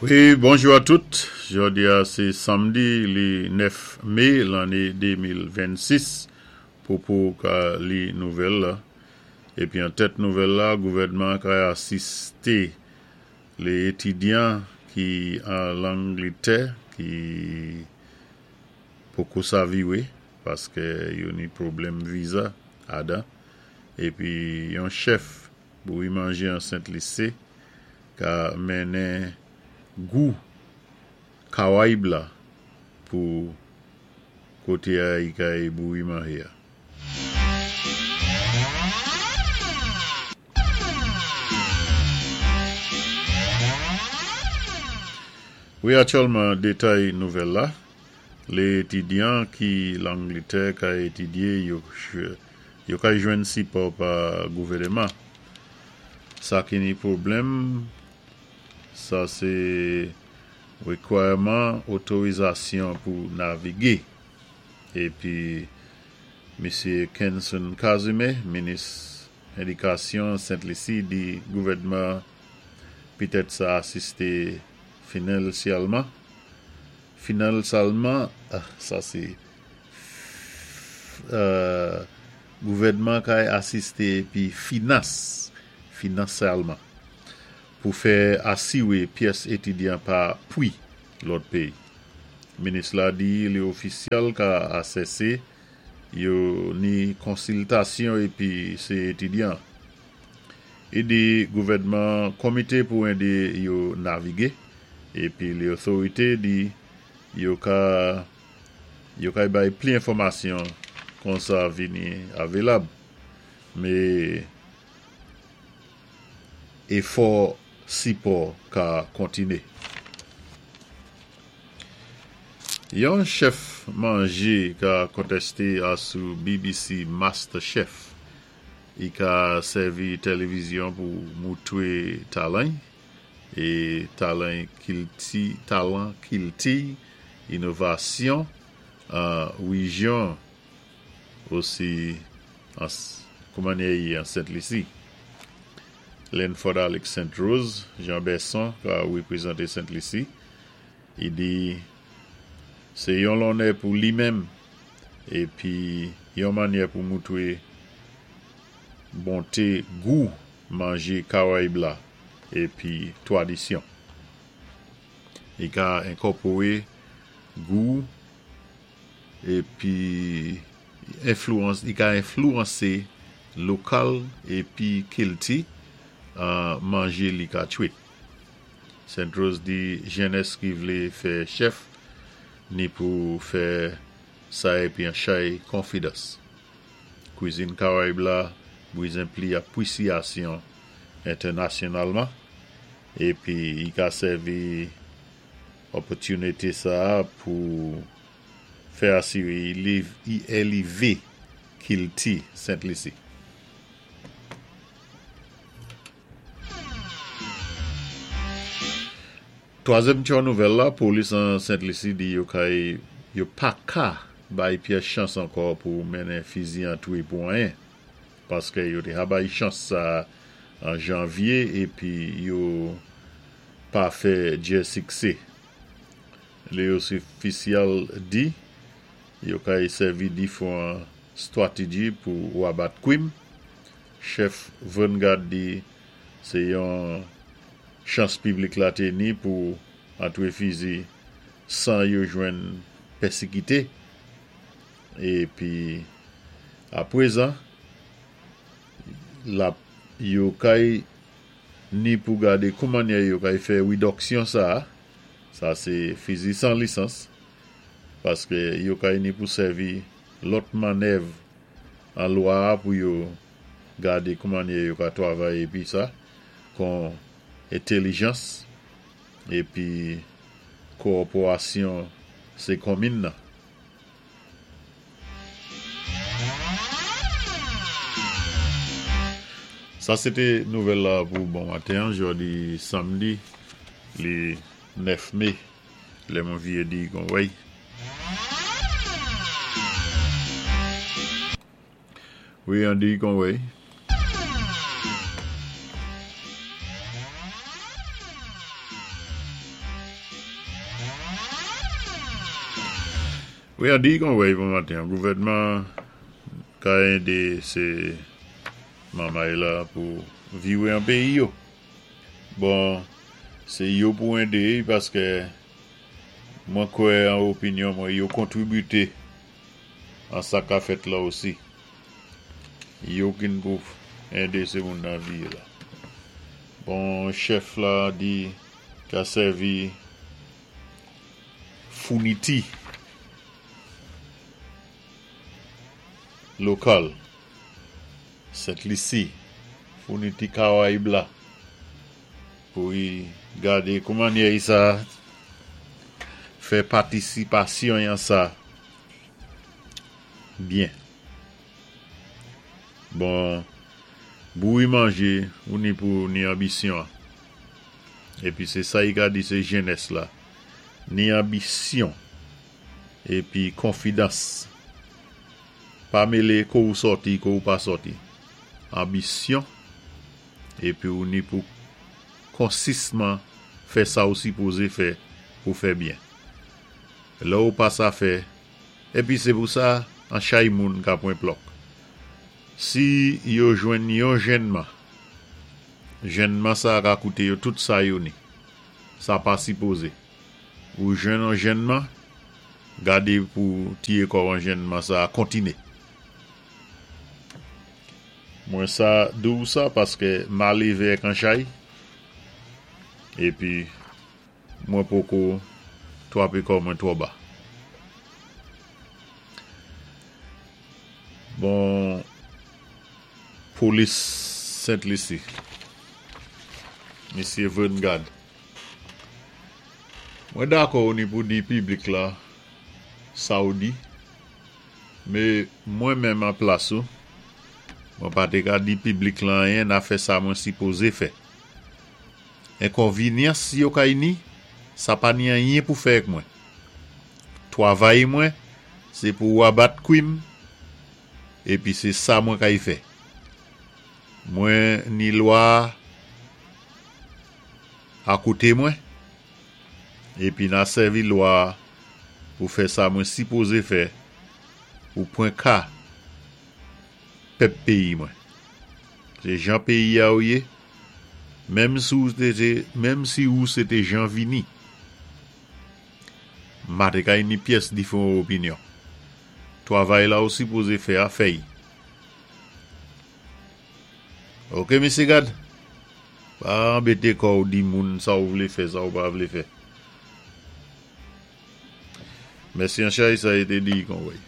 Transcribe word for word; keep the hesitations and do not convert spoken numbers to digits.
Wi, bonjou a tout. Jòdi-a sé sanmdi li nèf mé lanné de mil vennsis. Popo ka li nouvèl la. Épi an tèt nouvèl la, gouvèdman kay asisté lé étidyan ki an Langlitè ki poko sa viwé paské yo ni pwoblèm viza adan. Épi yon chèf bouwi manjé an Sent Lisi ka mennen gou Kawayib la pou koté-a i kay bouwi manjé-a. Wi, aktyèlman, détay nouvèl la, lé étidyan ki Langlitè kay étidyé yo, yo kay jwenn sipò pa gouvèdman. Sa ki ni pwoblèm, sa sé wékwiman otorizasyon pou navigé. Épi, Misyé Kenson Casimir, minis édikasyon Sent Lisi, di gouvèdman pitèt sa asisté finansyèlman. Finansyèlman, sa sé euh, gouvèdman kay asisté épi finans, finansyèlman pou fè asiwé pyès étidyan pa pwi lòt péyi. Minis la di lé ofisyèl ka asèsé yo ni konsiltasyon épi sé étidyan. I di gouvèdman komité pou édé yo navigé épi lé otorité di yo ka yo kay bay pli enfòmasyon kon sa vini avilab. Mé éfò sipò ka kontiné. Yon chèf manjé ka kontésté asou B B C MasterChef. I ka sèvi télévizyon pou moutwé talan é talan kilti, talan kilti, inovasyon an wéjyon osi an kouman an Sent Lisi. Lenford Alex Saint Rose, Jean Besson ka wépwézanté Sent Lisi. I di sé yon lonnè pou li menm épi yon mannyè pou moutwé bonté gou manjé Kawayib la épi twadisyon. I ka enkòpowé gou épi enflwans, i ka enflwansé lokal épi kilti an manjé li ka twit. Saint Rose di jènès ki vlé fè chèf ni pou fè sa épi an chay konfidans. Kwizin Kawayib la bwizin pli apwisyasyon entènasyonalman épi i ka sèvi opòtinité sa pou fè asiwé i élévé kilti Sent Lisi. Twazyèm ti nouvèl la, polis an Sent Lisi di yo kay yo pa ka bay pyès chans ankò pou mennen fizi antwé pou anyen. Paské yo té ka bay chans sa an janvyé épi yo pa fè djè siksé. Lé ofisyèl di yo kay sèvi difwan stwatéji pou wabat kwim. Chèf Vanguard di sé yon chans piblik la té ni pou antwé fizi san yo jwenn pèsikité. Épi apwézan, la yo kay ni pou gadé kouman yo kay fè widoksyon sa, sa sé fizi san lisans, paské yo kay ni pou sèvi lòt mannèv an lwa pou yo gadé kouman yo ka twavay épi sa, kon entèlijans épi kowòpérasyon sé konmin nan. Sa sé té nouvèl la pou bon maten, jòdi sanmdi, li nèf mé, lè mwen vyé di kon wèy. Wi, an di kon wèy. Wi, an di kon wèy bon maten, gouvèdman ka édé sé mamay la pou viwé an péyi yo. Bon, sé yo pou édé paské mwen kwè an opinyon mwen yo kontribité an sa ka fèt la osi. Yo k'in pou édé sé moun nan viwé la. Bon, chèf la di ka sèvi founiti lokal Sent Lisi, founiti Karayib la pou y gadé kouman yé sa fè patisipasyon yan sa byen. Bon, bouwi manjé ou ni pou ni anbisyon. Épi sé sa y ka di sé jenès la. Ni anbisyon épi konfidans. Pa mélé ko ou sòti, ko ou pa sòti. Anbisyon épi ou ni pou konsisman fè sa ou sipozé fè pou fè byen. Lè ou pa sa fè, épi sé pou sa an chay moun ka pwan plòk. Si yo jwenn yon jènman, jènman sa ka kouté yo tout sa yo ni. Sa pa sipozé. Ou jwenn an jènman, gadé pou tiyé kò an jènman sa kontiné. Mwen sa dou sa paské ma lévé ak an chay, épi mwen poko twapé kò mwen twò ba. Bon, polis Sent Lisi, Misyé Vern Gad. Mwen dakò ou ni pou di piblik la sa ou di, mé mwen menm an plas ou, mwen pa té ka di piblik la anyen na fè sa mwen sipozé fè. Enkonvinyans yo kay ni, sa pa ni anyen pou fè ak mwen. Twavay mwen, sé pou abat kwim, épi sé sa mwen kay fè. Mwen ni lwa a koté mwen, épi na sèvi lwa pou fè sa mwen sipozé fè pou pwan ka pèp péyi mwen. Sé jan péyi a ou yé, menm si ou té, menm si ou sé té Jean Vini, ma té kay ni pyès diféwan opinyon. Twavay la ou sipozé fè a fè'y. Ok, Misyé Gad? Pa anbété kò ou di moun sa ou vlé fè, sa ou pa vlé fè. Mèsi an chay, sa é té di kon wèy.